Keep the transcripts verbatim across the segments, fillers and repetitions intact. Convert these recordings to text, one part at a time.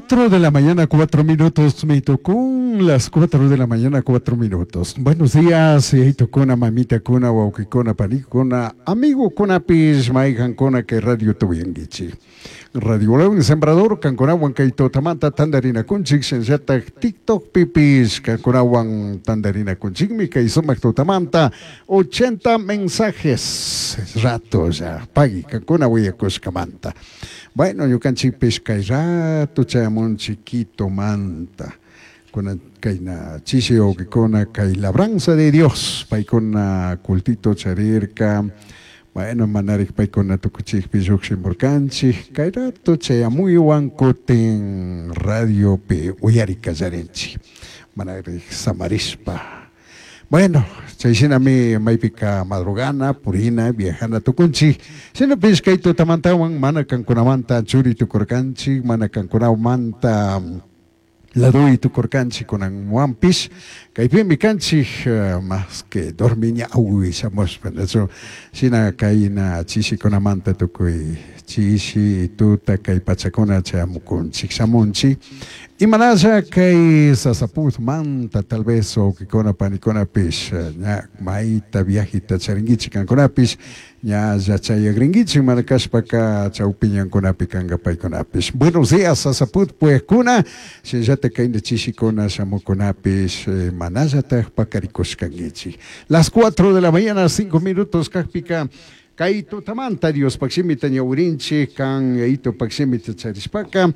Cuatro de la mañana, cuatro minutos, me tocó las cuatro de la mañana, cuatro minutos. Buenos días, kuna, mamita kuna, wawqikuna, panikuna, amigo kunapis, mayqankuna kay radio tuyankichik. Radio León Sembrador, kankunawan kay tutamanta tantarinakunchik, shinallatak TikTok pipis, kankunawan tantarinakunchikmi, kay sumak tutamanta, ochenta mensajes, rato ya, pagui, kankuna willakushkamanta. Bueno, ñukanchikpish kay rato chayamunchik Quitomanta. Kuna kayna chishi wawqikuna kay labranza de Dios, paykuna cultito charirka. Bueno, manarik paykuna tukuchikpi lluqshimurkanchik, kay rato chayamuywan kutin radiopi uyari kallarinchik, manarik samarishpa. Bueno, chay shinami maypika madrugana, purina, viajana tukunchik. Shinapish kay tutamantawan mana kankunamanta churi tukurkanchik, mana kankunamanta laduy tukurkanchik kunanwanpish. Kaypimi kanchik, más que dormiñawi shamushpa, nachu shina kayna chishikunamanta tukuy chishi tuta kay pachakuna chayamukunchik shamunchik. Imanasha kay Sasaputmanta tal vez wawqikuna panikunapish ña mayta viajita charinkichik kankunapish ña yachayakrinkichik mana kashpaka chawpiñankunapi kanka paykunapish. Buenos días Sasaput puejkuna, shinallatak kayna chishikuna shamukunapish manallatak pakarikushkankichik. Las cuatro de la mañana, cinco minutos kajpika kay tutamanta Diospaq shimita ñawirinchik kan Yaitopaq shimita charishpaka.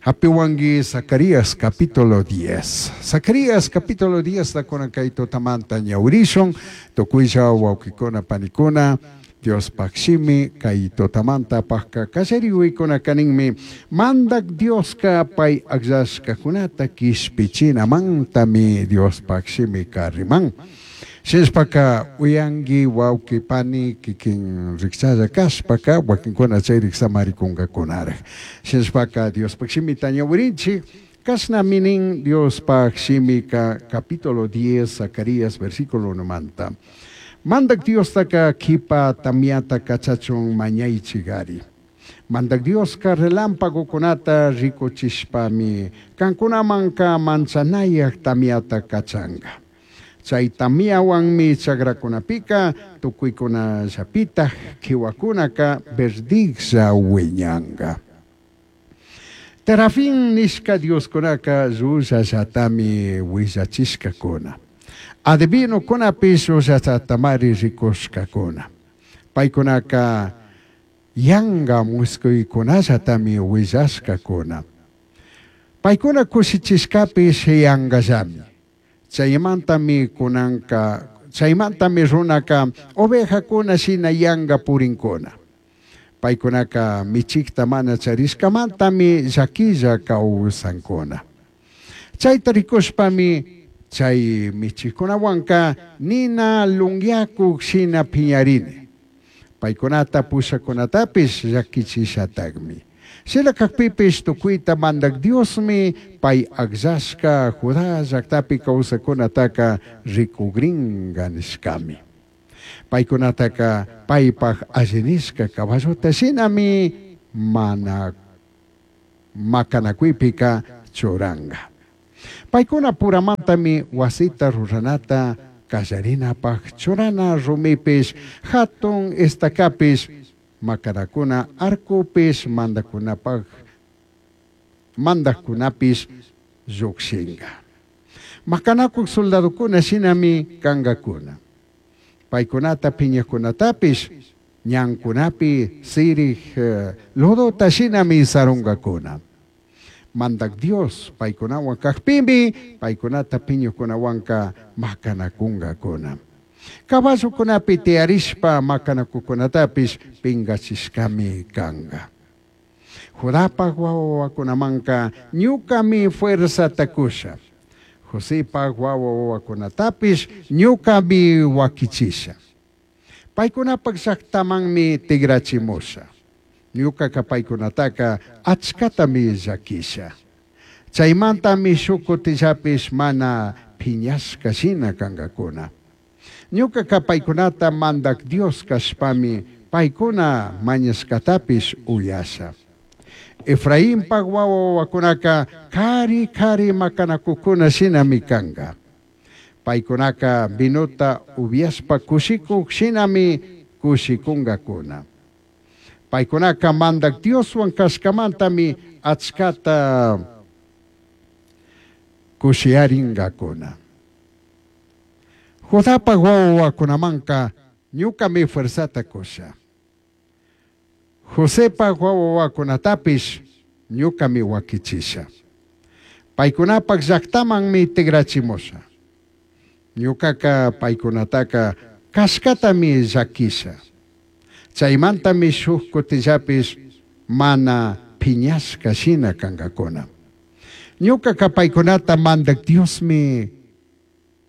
Hapiwangi Zacarías capítulo diez. Zacarías capítulo diez takuna kay tutamanta ñawirishun, tukuylla wawqikuna panikuna, Diospaq shimi kay tutamanta pajka kallariwiykuna kaninmi mandak Dioska pay akllashkakunata kishpichinamantami Diospaq shimi kariman. Shinashpaka uyangi wawqi pani kikin rikchalla kashpaka wakinkuna chayrik samarikunkakakunaraj. Shinashpaka Diospaq shimita ñawirinchik, kashnami nin Diospaq shimika capítulo diez Zacarías versículo unomanta. Mandak Diostaka kipa tamiata kachachun mañaychikari. Mandak Dioska relámpagokunata rikuchishpami kankunamanka manchanayak tamiata kachanka. Chay tamiawanmi chakrakunapika tukuykunallapitaq kiwakunaka verdiglla wiñanka. Terafín nishka Dioskunaka llullallatami willachishkakuna. Adivinokunapish llullallatamari rikushkakuna. Paykunaka yanka muskuykunallatami willashkakuna. Paykuna kushichishkapish yankallami. Chaymantami kunanka, chaymantami runaka ovejakuna shina yanka purinkuna. Paykunaka michikta mana charishkamantami llakilla kawsankuna. Chayta rikushpami chay michikkunawanka nina lunyakuk shina piñarini. Paykunata pushakunatapish llakichishatakmi. Shina kakpipish tukuyta mandak Diosmi pay akllashka Judá llaktapi kawsakunataka rikugrinka nishkami. Paykunataka paypaj allinishka caballota shinami mana makanakuypika churanka. Paykuna puramantami wasita ruranata kallarinapaj churana rumipish hatun estakapish makanakuna arkupish mandakunapaj mandakunapish llukshinka. Makanakuk soldadukuna shinami kankakuna. Paykunata piñakunatapish ñankunapi sirik lodota shinami sarunkakuna. Mandak Dios paykunawan kakpimi paykunata piñukunawanka makanakunkakuna. Caballokunapi tiyarishpa makanakukunatapish pinkachishkami kanka. Judapaj wawakunamanka ñukami fuerzata kusha. Josepaj wawakunatapish ñukami wakichisha. Paykunapaj llaktamanmi tigrachimusha. Ñukaka paykunataka achkatami llakisha. Chaymantami shuk kutillapish mana piñashka shina kankakuna. Ñukaka paykunata mandak Dios kashpami paykuna mañashkatapish uyasha. Efrainpaj wawa wawakunaka kari kari makanakukuna shinami kanga. Paykunaka vinota upiashpa kushikuk shinami kushikunkakuna. Paykunaka Mandak Dioswan kashkamantami achkata kushiyarinkakuna. Judapaj wawa wawakunamanka ñukami fuerzata kusha. Josepaj wawa wawakunatapish ñukami wakichisha. Paykunapaj llaktamanmi tigrachimusha. Ñukaka paykunataka kashkatami llakisha. Chaymantami shuk kutillapish mana piñashka shina kankakuna. Ñukaka paykunata Mandak Diosmi,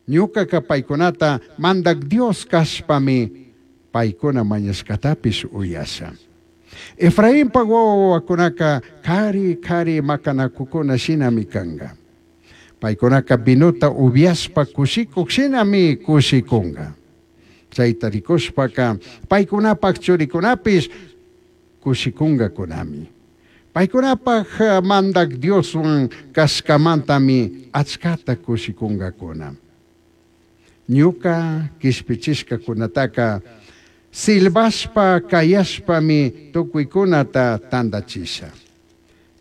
ñukaka paykunata Mandak Dios kashpami paykuna mañashkatapish uyasha. Efrainpaj wawa wawakunaka kari kari makanakukuna shinami kanka. Paykunaka vinota upiashpa kushikuk shinami kushikunka. Chayta rikushpaka paykunapaj churikunapish kushikunkakunami. Paykunapaj Mandak Dioswan kashkamantami achkata kushikunkakuna. Ñuka kishpichishkakunataka silbashpa kayashpami tukuykunata tandachisha.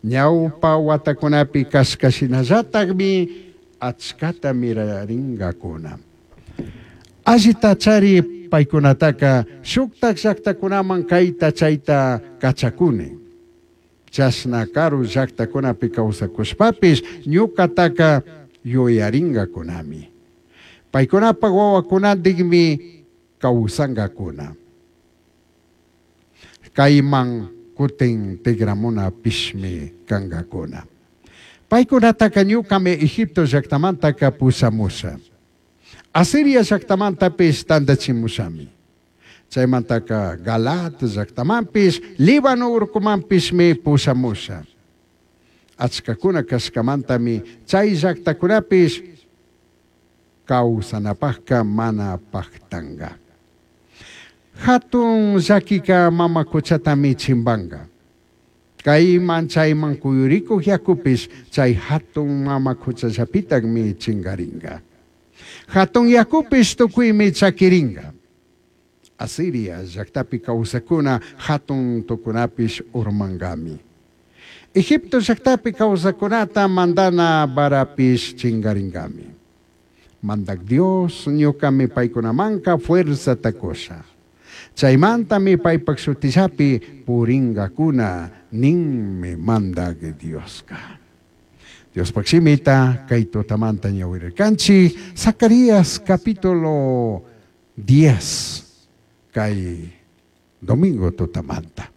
Ñawpa watakunapi kashka shinallatakmi achkata mirarinkakuna. Allita chari paykunataka shuktak llaktakunaman kayta chayta kachakuni. Chashna karu llaktakunapi kawsakushpapish ñukataka yuyarinkakunami. Paykunapaj wawakunantikmi kawsankakuna. Kayman kutin tigramunapishmi kankakuna. Paykunataka ñukami Egipto llaktamantaka pushamusha. Asiria llaktamantapish tandachimushami. Chaymantaka Galaad llaktamanpish, Líbano urkumanpishmi pushamusha. Achkakuna kashkamantami chay llaktakunapish kawsanapajka mana paktanka. Hatun llakika mama kuchatami chimbanka. Kayman chayman kuyurikuk yakupish chay hatun mama kuchallapitakmi chinkarinka. Hatun yakupish tukuymi chakirinka. Asiria llaktapi kawsakuna hatun tukunapish urmankami. Egipto llaktapi kawsakunata mandana varapish chinkarinkami. Mandak Dios ñukami paykunamanka fuerzata kusha. Chaymantami paypak shutillapi purinkakuna ninmi Mandak Dioska. Diospaj shimita kay tutamanta ñawirirkanchik Zacarías capítulo diez kay domingo tutamanta.